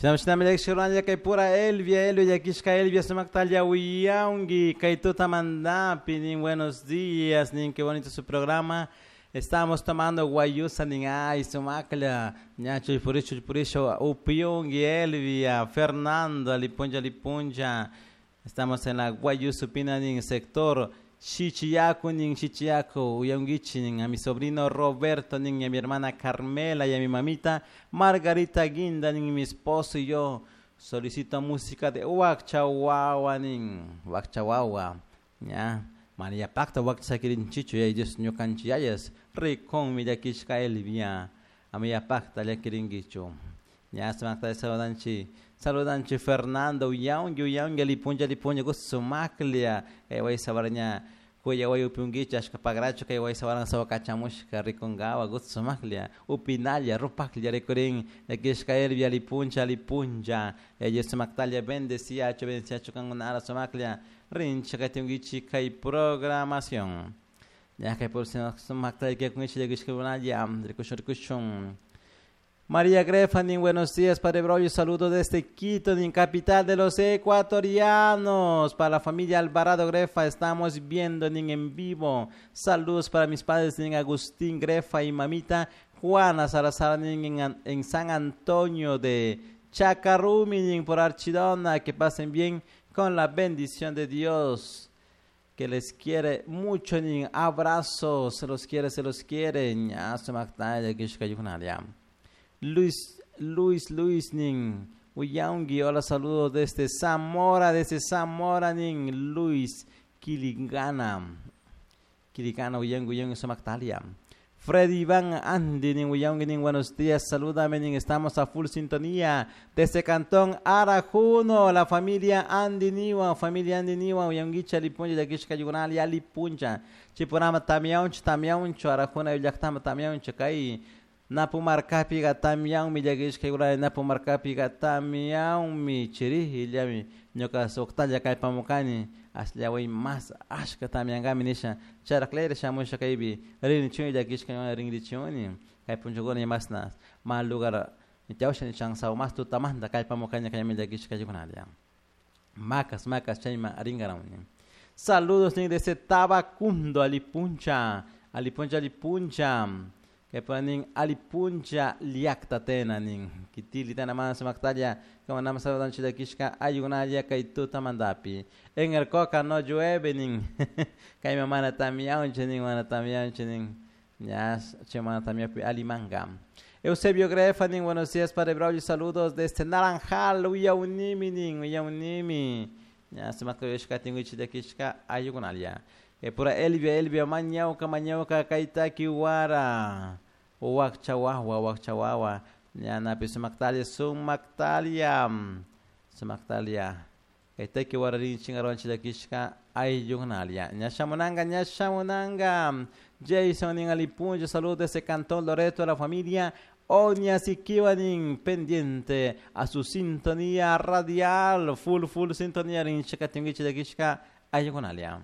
Shinami llakishka kay pura Elvia, Elvia llakishka Elvia sumaktalla uyanki kay tutamantapi nin buenos días nin qué bonito su programa. Estamos tomando guayusa nin ay sumaklla ña chullpurisho chullpurisho upiyunki Elvia, Fernando alipuncha alipuncha. Estamos en la Guayusupina nin sector Chichiyaku nin Chichiyaku uyankichi nin a mi sobrino Roberto nin y a mi hermana Carmela y a mi mamita Margarita Guinda nin mi esposo y yo solicito música de Wakchawawa nin Wakchawawa ña María Pacta Wakchakirinchichu y Dios ñukanchiyayas rikunmi llakishka Elvia amiya pacta llakirinkichu ña sumakta saludanchi saludanchi Fernando uyanki uyanki alipuncha alipuncha sumaklla kay waysabar ña kuyaway upiunkichik ashka pagrachu kay waysabaran sawakachamushka rikunkawa sumaklla upinalla rupaklla rikurin llakishka Elvia alipuncha alipuncha Dios sumaktalla bendeciachu bendeciachu kankunara sumaklla rinchik katinkichik kay programación ña kay por sumakta llakikunkichik llakishkakunalla rikushun rikushun. María Grefa, nin buenos días, Padre Braulio, saludo desde Quito, nin capital de los ecuatorianos. Para la familia Alvarado Grefa, estamos viendo nin en vivo. Saludos para mis padres, nin Agustín Grefa y mamita Juana Salazar, nin en San Antonio de Chacarumi, nin por Archidona. Que pasen bien con la bendición de Dios, que les quiere mucho, nin abrazos, se los quiere, se los quiere. Luis, Luis, Luis, nin uyangi, hola, saludos desde Zamora, nin Luis Quiligana, Quiligana, uyangi, uyangi, sumaktalia. Freddy Iván Andy, nin uyangi, nin buenos días, salúdame, nin estamos a full sintonía desde Cantón Arajuno, la familia Andy Niwa, familia Andy Niwa, uyangicha, lipuncha, yakishka, yugunal, yalipuncha, chipurama, tamiauncho, tamiauncho, Arajuna, llaktama, tamiauncho, kay Napumarkapiqa tamyanmi llakishka Napumarkapiqa tamyanmi chirihi llami ñuka suqtalla kallpamukani asllaway mas ashka tamyankami nisha charaklayra shamusha kaypi rinrichuni llakishka rinrichuni kay punchakuna masna mal lugar chawsha nishansaw mas tutamanta kallpamukani kaymi llakishka ayukunalla macas macas chayma rinkarawni. Saludos nin desde Tabacundo alipuncha alipuncha alipuncha que ponen alipuncha liaktatena nin kitili tena mana sumaktalla como nama saludan chilakishka ayunalla kay tutamantapi en el coca no llueve nin kay mana tamiaunche nin mana tamiaunche nin ya che mana tamiapi alimanga. Eusebio Grefa nin buenos días Padre Braulio, saludos desde Naranjal uyaunimi nin uyaunimi ya sumakta tingu chilakishka ayunalla. Pura Elvia, Elvia, mañauka, mañauka, kaitaki wara, wakchawawa, wakchawawa, ñanapi sumaktalia, sumaktalia, sumaktalia, kaitaki wara rinchingaron chilakishka ayunalia. Ñashamunanga, ñashamunanga, Jason nin alipuncho, saludos desde Cantón Loreto a la familia Oña Sikiwanin, pendiente a su sintonía radial, full, full sintonía, rinchika, tinguichilakishka, ayunalia.